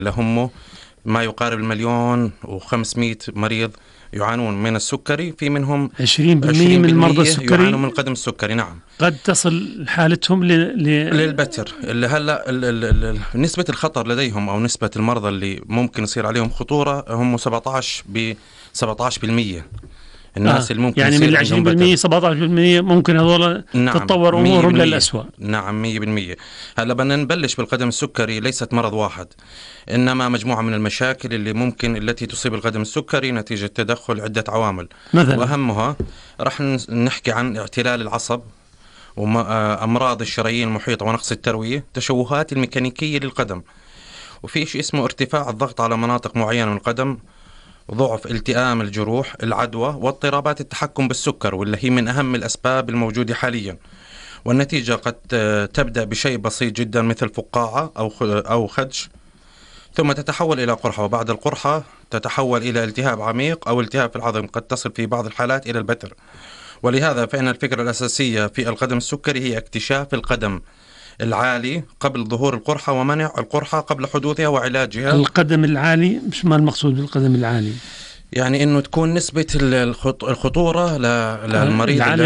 لهم ما يقارب 1,500,000 مريض يعانون من السكري، في منهم 20% من مرضى السكري يعانون من القدم السكري. نعم، قد تصل حالتهم للبتر. اللي هلا نسبة الخطر لديهم أو نسبة المرضى اللي ممكن يصير عليهم خطورة هم 17%. الناس اللي ممكن يعني من 20% 17% ممكن هذول تتطور أمورهم للأسوأ. نعم 100%. هلا بدنا نبلش بالقدم السكري. ليست مرض واحد، إنما مجموعة من المشاكل التي تصيب القدم السكري نتيجة تدخل عدة عوامل. مثلا وأهمها رح نحكي عن اعتلال العصب، وأمراض الشرايين المحيطة ونقص التروية، تشوهات الميكانيكية للقدم، وفي شيء اسمه ارتفاع الضغط على مناطق معينة من القدم، ضعف التئام الجروح، العدوى، واضطرابات التحكم بالسكر، واللي هي من أهم الأسباب الموجودة حاليا. والنتيجة قد تبدأ بشيء بسيط جدا مثل فقاعة أو خدش، ثم تتحول إلى قرحة، وبعد القرحة تتحول إلى التهاب عميق أو التهاب في العظم، قد تصل في بعض الحالات إلى البتر. ولهذا فإن الفكرة الأساسية في القدم السكري هي اكتشاف القدم العالي قبل ظهور القرحة، ومنع القرحة قبل حدوثها وعلاجها. القدم العالي مش ما المقصود بالقدم العالي؟ يعني إنه تكون نسبة الخطورة للمريض عالي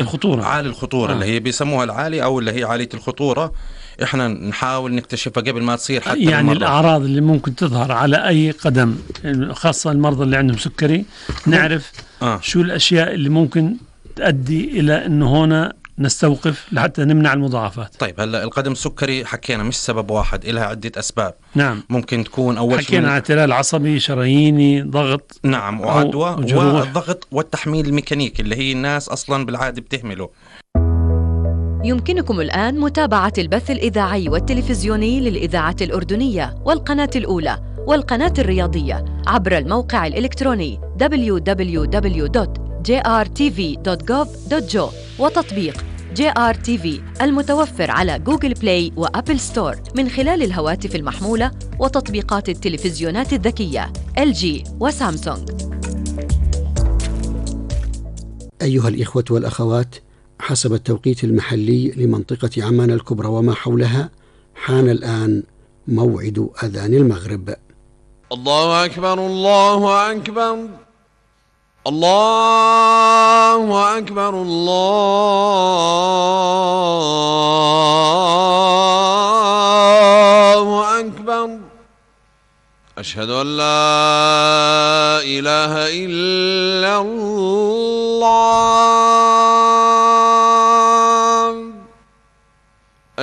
الخطورة اللي هي بيسموها العالي أو اللي هي عالية الخطورة. إحنا نحاول نكتشفها قبل ما تصير حتى يعني بالمرة. الأعراض اللي ممكن تظهر على أي قدم، خاصة المرضى اللي عندهم سكري، نعرف شو الأشياء اللي ممكن تؤدي إلى إنه هنا نستوقف لحتى نمنع المضاعفات. طيب هلا القدم السكري حكينا مش سبب واحد، إلها عدة أسباب. نعم، ممكن تكون أول شيء حكينا عن اعتلال عصبي، شراييني، ضغط، نعم، وعدوى، والضغط والتحميل الميكانيكي اللي هي الناس أصلا بالعادة بتهمله. يمكنكم الآن متابعة البث الإذاعي والتلفزيوني للإذاعة الأردنية والقناة الأولى والقناة الرياضية عبر الموقع الإلكتروني www.jrtv.gov.jo وتطبيق JRTV المتوفر على جوجل بلاي وأبل ستور من خلال الهواتف المحمولة وتطبيقات التلفزيونات الذكية LG وسامسونج. أيها الإخوة والأخوات، حسب التوقيت المحلي لمنطقة عمان الكبرى وما حولها، حان الآن موعد أذان المغرب. الله أكبر الله أكبر الله أكبر الله أكبر. أشهد أن لا إله إلا الله.